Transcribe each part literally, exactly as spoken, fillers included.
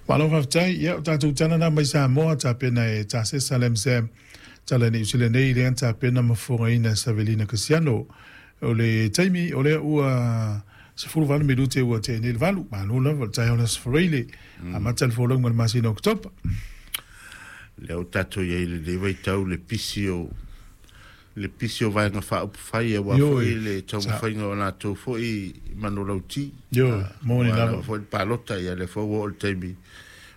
Malo faafetai. Ia, o tatou tala na mai Samoa tapena e Tasesa Lamsam, tala Niu Sila nei lea na tapena ma fofogaina e Savelina Kasiano. O le taimi o lea ua sefulu valu minute ua tea nei le valu. Malo lava o le taeao o le Aso Faraile, amata le folauga i le masina o Oketopa. Lea ua tatou i ai i lenei vaitau le pisi o le pisi o Vaega Faaupufai aua foi le taumafaiga o latou foi manulauti. Ioe, moni lava. Foi le palota, ia lea foi ua oo le taimi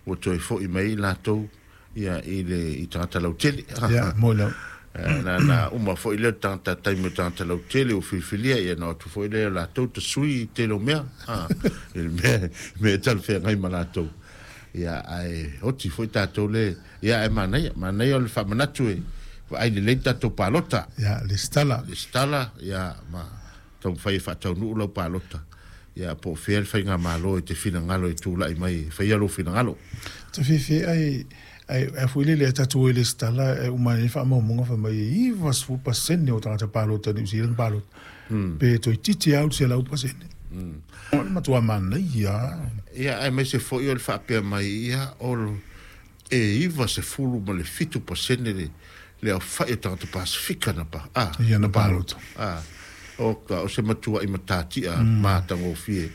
ua toe foi mai latou ia i le i tagata lautele. Ia, moni lava. Na na uma foi lea tagata taimi o tagata lautele ua filifilia, ia na o atu foi lea latou tasui i tele o mea, i le mea mea e talafeagai ma latou. Ia, ae oti foi tatou le, ia ae manaia, manaia o le faamanatu e vaai lelei tatou palota. Ia, lesitala. Lesitala, ia, ma taumafai e faataunuu lau palota. Ia, po o fea le faigamalo e te finagalo e tulai mai e faia lou finagalo. Ta fiafia ai, ai, ai foi lele a tatou e lesitala e uma ai faamaumauga fai mai e ivasefulu pasene o tagata palota Niu Sila na palota. Pe toeitiiti lava selau pasene. O le matua manaia. Ia, aemaise foi o le faapea mai ia o e iva sefulu ma le fitu pasene le le aofai o tagata Pasefika na pa a Ia na palota. A o ka o se matua'i matatia matagofie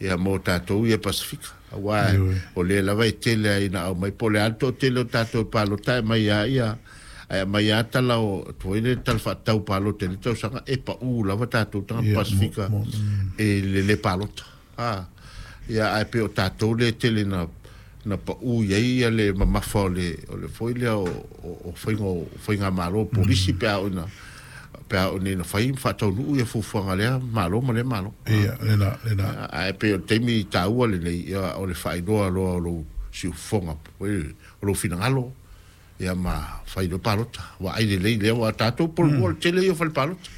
ia mo tatou ia Pasefika, auā o lea lava e tele ai ina aumai po o le a le toatele o tatou e palota e aumai a ia ae aumai a tala o foi le tala faatatau palota i le tausaga e paʻū lava tatou tagata Pasefika e le lē palota a ia ae pei o tatou lea e tele na na paʻū i ai ia le mamafa o le o le foi lea o o faiga o faigamalo polisi pe a oo ina pe a oo ina fai ma faataunuu ia fuafuaga a lea Malo ma lea Malo. Ia, lena, lena. Ae pei o le taimi taua lenei ia o le faailoa loa o lou siufofoga o lou finagalo ia ma fai loa palota. Vaai lelei lea ua tatou Pololua o le tele ia o fale palota.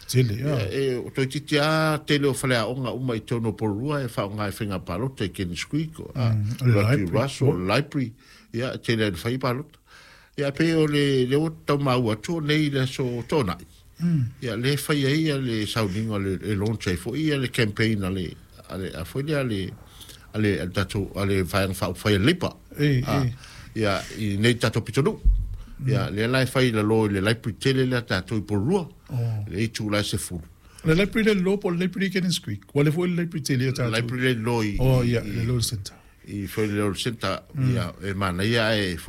Tele, ia. E toeitiiti lava tele o faleaoga uma i totonu o Pololua e faaaoga i faiga palota i Kenneth Creek, o Rugby Russell, o library, ia e tele lava ina fai palota. Ia pei o le lea ua tau maua atu o nei i le aso Toonai, ia lea e fai ai ia le sauniga e launch ai foi ia le campaign a le a le a foi lea a le a le a le tatou a le Vaega Faaupufai a le Leipa. Ia i nei tatou pitonuu. Ia lea la e fai i lalo i le library tele lea tatou i Pololua, le itula e sefulu. O le library le lalo po o le library i Cannons Creek? Ua le foi le library tele a tatou. Library le lalo i Oh, ia, le lalo i le centre. I foi le lalo i le centre, ia e manaia ae foi